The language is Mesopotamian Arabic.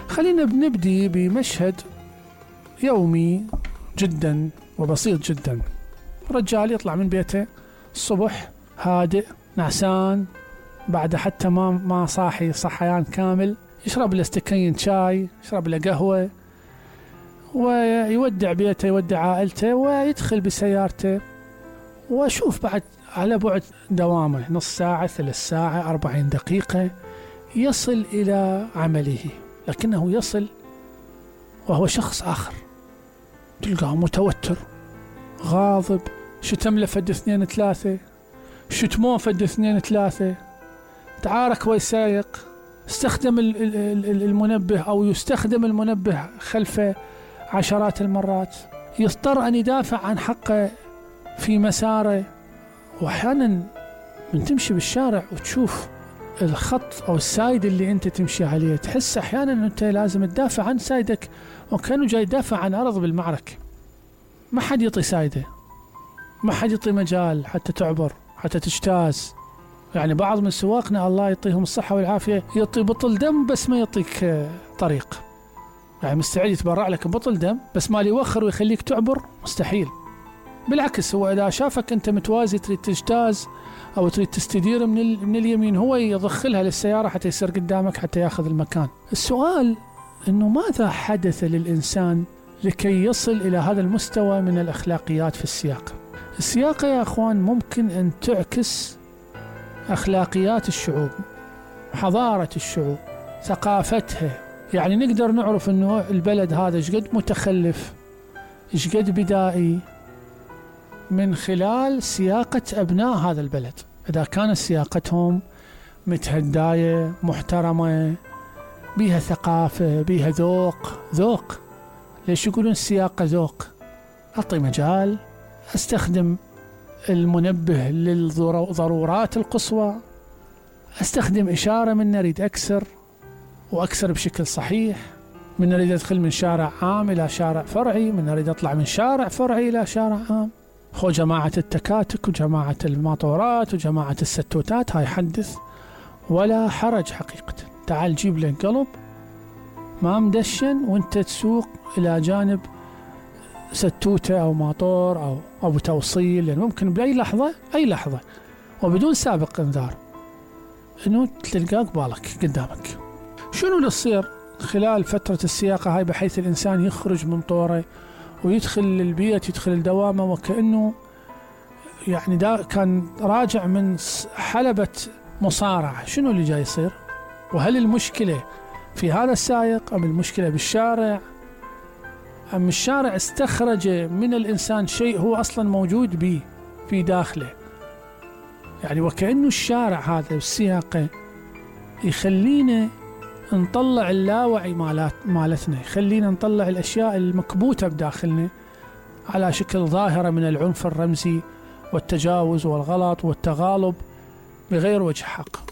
خلينا بنبدي بمشهد يومي جدا وبسيط جدا. رجال يطلع من بيته الصبح هادئ نعسان، بعد حتى ما صاحي صحيان كامل، يشرب له استكين شاي، يشرب له قهوة، ويودع بيته، يودع عائلته، ويدخل بسيارته. وأشوف بعد على بعد دوامه نص ساعة، 3 ساعة، 40 دقيقة يصل إلى عمله، لكنه يصل وهو شخص آخر. تلقاه متوتر، غاضب، شتم له فد 2 3، شتموه فد 2 3، تعارك ويسايق، استخدم المنبه أو يستخدم المنبه خلفه عشرات المرات، يضطر أن يدافع عن حقه في مساره. وأحيانا من تمشي بالشارع وتشوف الخط أو السايد اللي أنت تمشي عليه، تحس أحيانا أن أنت لازم تدافع عن سايدك، وكأنه جاي يدافع عن أرض بالمعركة. ما حد يعطي سايده، ما حد يعطي مجال حتى تعبر، حتى تجتاز. يعني بعض من سواقنا الله يعطيهم الصحة والعافية يعطي بطل دم بس ما يعطيك طريق، يعني مستعد يتبرع لك بطل دم بس ما يوخر ويخليك تعبر، مستحيل. بالعكس، هو إذا شافك أنت متوازي تريد تجتاز أو تريد تستدير من اليمين، هو يضخلها للسيارة حتى يصير قدامك حتى ياخذ المكان. السؤال إنه ماذا حدث للإنسان لكي يصل إلى هذا المستوى من الأخلاقيات في السياقة؟ السياقة يا أخوان ممكن أن تعكس أخلاقيات الشعوب، حضارة الشعوب، ثقافتها. يعني نقدر نعرف أنه البلد هذا شقد متخلف، شقد بدائي، من خلال سياقة أبناء هذا البلد. إذا كانت سياقتهم متهداية، محترمة، بيها ثقافة، بيها ذوق. ليش يقولون السياقة ذوق؟ أعطي مجال، أستخدم المنبه للضرورات القصوى، أستخدم إشارة من نريد أكسر وأكسر بشكل صحيح، من نريد أدخل من شارع عام إلى شارع فرعي، من نريد أطلع من شارع فرعي إلى شارع عام. هو جماعة التكاتك وجماعة الماطورات وجماعة الستوتات، هاي حدث ولا حرج حقيقة. تعال جيب لك قلب ما مدشن وانت تسوق إلى جانب ستوتة أو ماطور أو توصيل، لأن ممكن بأي لحظة وبدون سابق انذار إنه تلقاك بالك قدامك. شنو اللي يصير خلال فترة السياقة هاي بحيث الإنسان يخرج من طوره ويدخل للبيت، يدخل الدوامة، وكأنه يعني دا كان راجع من حلبة مصارعة؟ شنو اللي جاي يصير؟ وهل المشكلة في هذا السائق أم المشكلة بالشارع أم الشارع استخرج من الإنسان شيء هو أصلا موجود به في داخله؟ يعني وكأنه الشارع هذا والسياقة يخلينا نطلع اللاوعي مالتنا، يخلينا نطلع الأشياء المكبوتة بداخلنا على شكل ظاهرة من العنف الرمزي والتجاوز والغلط والتغالب بغير وجه حق.